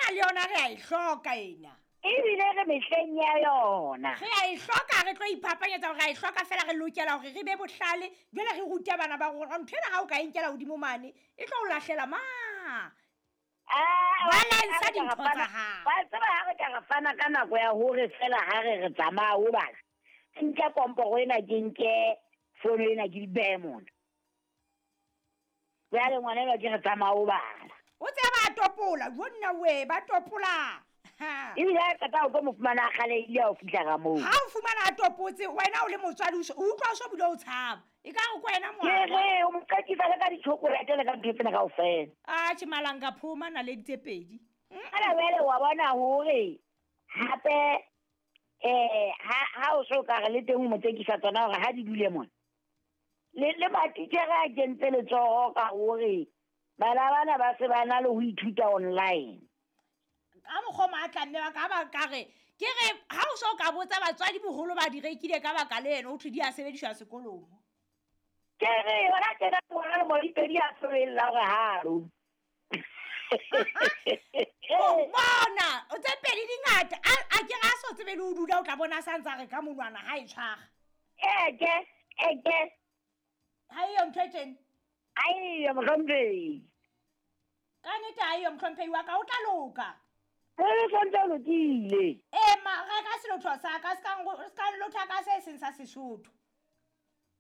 Ena le yona re a e hloka ena. Ebile re mehleng ya yona. Re a e hloka, re tlo iphapanyetsa hore re a e hloka fela re lokela hore re be bohlale, jwale re rute bana ba rona. Ntho ena ha o ka e nkela hodimo mane, e tlo o lahlela ma. Ah, Balance dintho tsa hao. Wa tseba ha re ka re fana ka nako ya hore fela ha re re tsamaya o bala. Ke nke komporo ena, ke nke fono ena, ke di behe mona. Jwale ngwana enwa ke re tsamaya o bala. O tseba ba topola, jo nna we, ba topola. Ha. Ebile ha qeta o tlo mo fumana a kgalehile ha o fihla ka moo. Ha o fumana a topotse, wena o le motswadi o utlwa o so bile o tshaba. E ka re ko wena Ke ngwana. re, o mo qekisa le ka di-chocolate le ka ntho tsena kaofela. Atjhe, malanga phoma naledi tse pedi. Jwale jwale wa bona hore hape, ha o so ka re le teng o mo tsekisa tsona hore ha di dule mona. Le matitjhere a kentse letsoho ka hore bana bana ba se ba na le ho ithuta online. Ka mokgwa o matla mme wa ka ba ka re, ke re ha o so ka botsa batswadi boholo ba di rekile ka baka le ena, ho thwe di a sebediswa sekolong. Ke re, hona tjena ngwana le modipedi a tswella hore halo. O bona, o tse pedi di ngata. A ke re a so tsebe le ho dula, o tla bona a sa ntse a re ka monwana ha e tshwara. Eke, eke. Ha eyo ntho e tjena? Ha eyo, mohlomphehi. Ka nnete ha eyo, mohlomphehi wa ka, o tla loka. E santse o lokile. Ee, ma, reka selotho sa ka, se ka se ka nlotha ka se seng sa Sesotho.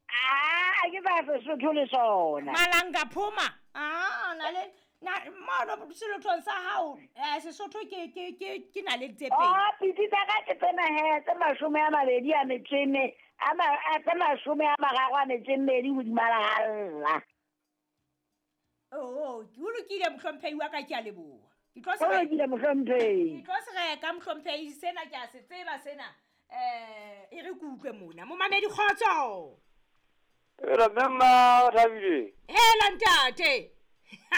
Ah, ke sa Sesotho le sona. Malanga phoma. Ah, na le, na, mono selothong sa hao, Sesotho ke na le tse pedi. Oh, pitsi tsa ka ke tsena he, tse mashome a mabedi a metso e me, a ma, a tse mashome a mararo a metso e mmedi hodima lehalla. Oh, ke o lokile, mohlomphehi wa ka, ke a leboha. Ke tlo se O lokile, mohlomphehi. Ke tlo se reka, mohlomphehi, sena ke a se tseba sena. E re ke utlwe mona. Momamedi, kgotso. Hela, mme mma, o thabile? Hela, ntate.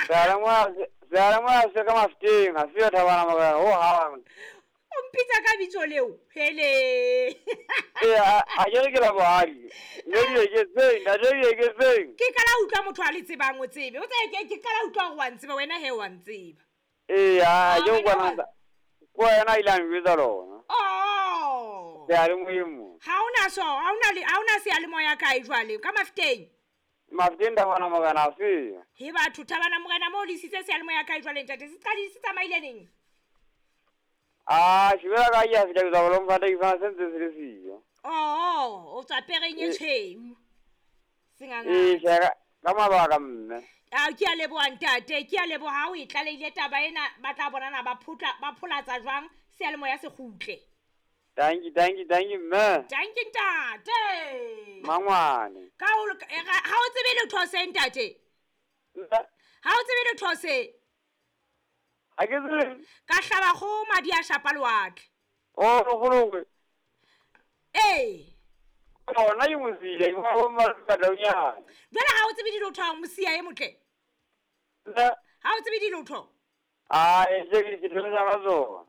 Seyalemoya se ka Mafeteng, ha se ya Thabana Morena, ho hang. O mpitsa ka bitso leo? Hele. Ee, a ke re ke la bohadi. Mme di eketseng, ntate di eketseng. Ke qala ho utlwa motho a le tsebang, o tsebe. O tsebe, ke qala ho utlwa hore wa ntseba, wena he wa ntseba. Ee, a ke Ah, o kwana wena wa- ko wena a ile a njwetsa lona. Oh. Seyalemoyeng mo. Ha hona so, ha hona le, ha hona seyalemoya kae jwale, ka Mafeteng? Mafeteng Thabana Morena a se. He batho, Thabana Morena mo le isitse seyalemoya kae jwale, ntate? Se qadile, se tsamaile neng? Ah, shebela ka ke a fihla ke tswa Bloemfontein, ke fumana se ntse se le siyo. Oh, o tswa pereng e Ee. tshweu. Senganga. Ee, tjhe, ka mabaka mme. Ah, ke a leboha ntate, ke a leboha ha o e tlalehile taba ena, ba tla bonana ba phutla, ba pholatsa jwang seyalemoya se kgutle. Danki, danki, danki mme. Danki ntate. Mangwane. Ka o loka, ha o tsebe letho se ntate? Nna? Ha o tsebe letho se? Ha ke tsebe. Ka hlaba kgoho madi a shapa lewatle. Oh, kgolokwe. Ee. Ona ke mosia, ke wa bo Mmataunyane. Jwale ha o tsebe dilotho ha o mosia e motle? Nna? Ha o tsebe dilotho? Ah, e se ke thomisa ka tsona.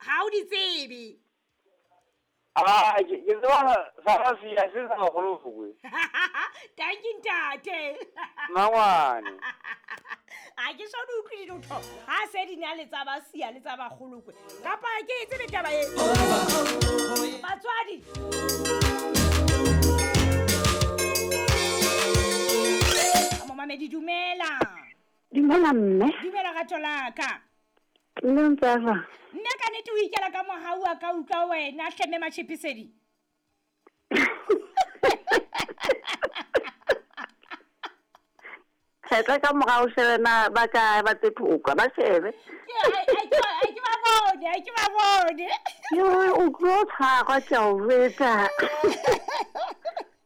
Ha o di tsebe. Ah, ke tseba sa ga sia, se sa kgolokwe. Thank you, ntate. Mangwane. Ha ke so di utlwe dilotho. Ha se di na le tsa ba sia le tsa ba kgolokwe. Kapa ke e tsebe taba e. Batswadi. Momamedi, dumela. Dumela mme. Dumela rato la ka. Mme o ntse a jwang? Nna ka nnete o ikela ka mohau wa ka utlwa wena hle mme Matjhepisedi. Kgetla ka morao shebe na ba kae ba tse phoka, ba shebe. Ke, ai, ke ba bone, ai, ke ba bone. Yo, o tlo tshwarwa ke a o jwetsa.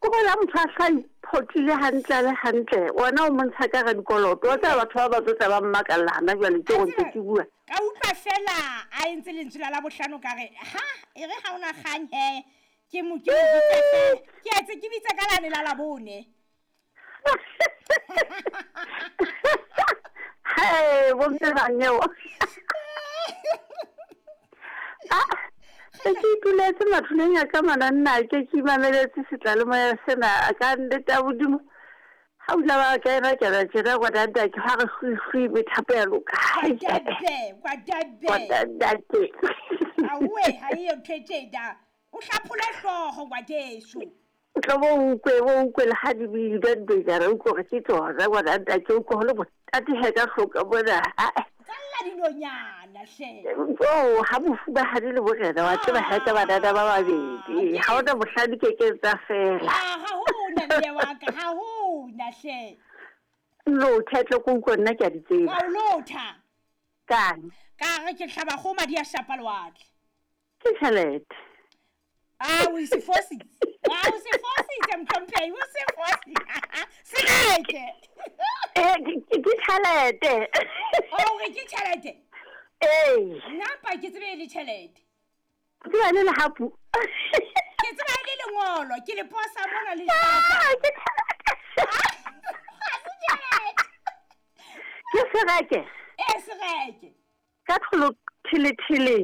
Ko bona motho a sa iphotile hantle le hantle, wena o montsha ka re dikoloto. Wa tseba batho ba ba tlo tla ba mmakalla hana jwale ke go ntse ke bua. Ka utlwa fela a entse lentswe la Labohlano ka re, ha, e re ha ona kgang he, ke mo, ke mo bitse fela. Ke etse ke bitse ka lane la Labone. Hey, bo mme ba nyeo. Ah, ke ituletse mathuleng a ka mana nna ke ke imameletse setlalemo sena a ka nnete ya Modimo. Ha o la ba kena kena tjena ngwanantake ha re hlwi methapo ya loka. Kwadabe, kwadabe. Ngwanantake. Awe, ha eyo ntho e tjena. O hlaphole hlooho ngwaneso. O tlo bo ukwe bo ukwe le ha di bile ntwe o utlwe hore ke tsona ngwanantake o utlwe ho le monate he ka hloka mona. Tsalla dinonyana hle. Oh, ha mofumahadi le morena wa tseba ha ka banana ba babedi. Ha hona mohlang di kekeng tsa fela. Ah, ha hona mme wa ka, ha hona hle. Lotha tle ko utlwa nna ke a di tseba. Ka o lotha. Kang? Ka re ke hlaba kgomo madi a shapa lewatle. Ke tjhelete. Ah, o se fositse. Ah, o se fositse mohlomphehi, o se fositse. Sereke. Eh, ke tjhelete. O re ke tjhelete? Ee. Nna mpa ke tsebe e le tjhelete. Ke tseba e le lehapu. Ke tseba e le lengolo, ke le posa mona le hlapa. Ah, ke tjhelete. Ha se tjhelete. Ke sereke. Eh, sereke. Ka tlholo thele thele.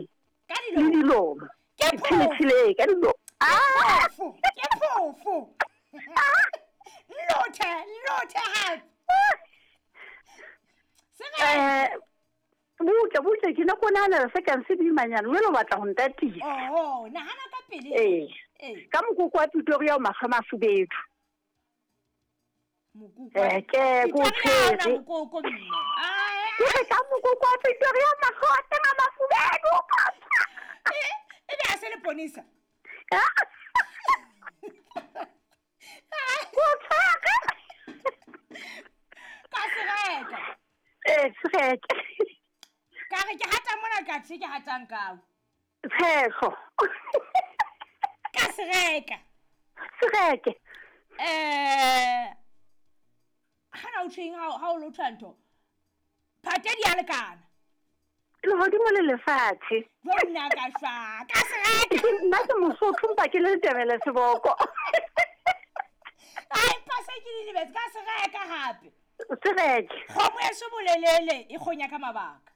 Ka Le dilomo. dilomo. Ke Thele phofo. thele ka dilomo. Ah! Phofo, ke phofo. Lothe, lothe hape. Sereke. Eh, butle butle ke ne ko nahanela se kang se boimanyana jwale o batla ho ntatisa. Oho, nahana ka pele. Ee. Ee. Ka mokoko wa Pretoria o mahlo a mafubedu. Mokoko. Eh, ke ko Pretoria ha ona tshwere. mokoko mme. Ah, Ke re ka mokoko wa Pretoria mahlo a teng a mafubedu. eh, e be a se leponisa. Ko tshwere. Ka sereka. Eh, sereke. Ka re ke hata mona ka tjhe ke hatang kao. Tshehlo. Ka sereka. Sereke. Eh, hana o tjheng ha o lotha ntho. Phate di a lekana. Lehodimo le lefatshe. Jwale nna ka shwa. Ka sereka. Nna ke Mosotho mpa ke le Letebele seboko. Ai, mpa se ke di lebetse ka sereka hape. Sereke. Kgomo ya bolelele e kgonya ka mabaka.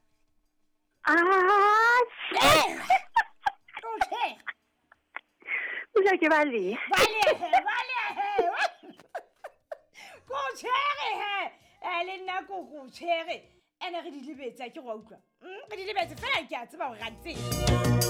Ah, Eh. Tjhe. Pula ke balehe. Balehe, balehe. Ko tjhere he. Eh, le nna ko ko tjhere. Ene re di lebetse, ha ke re wa utlwa. Re di lebetse fela ke a tseba hore ra di tseba.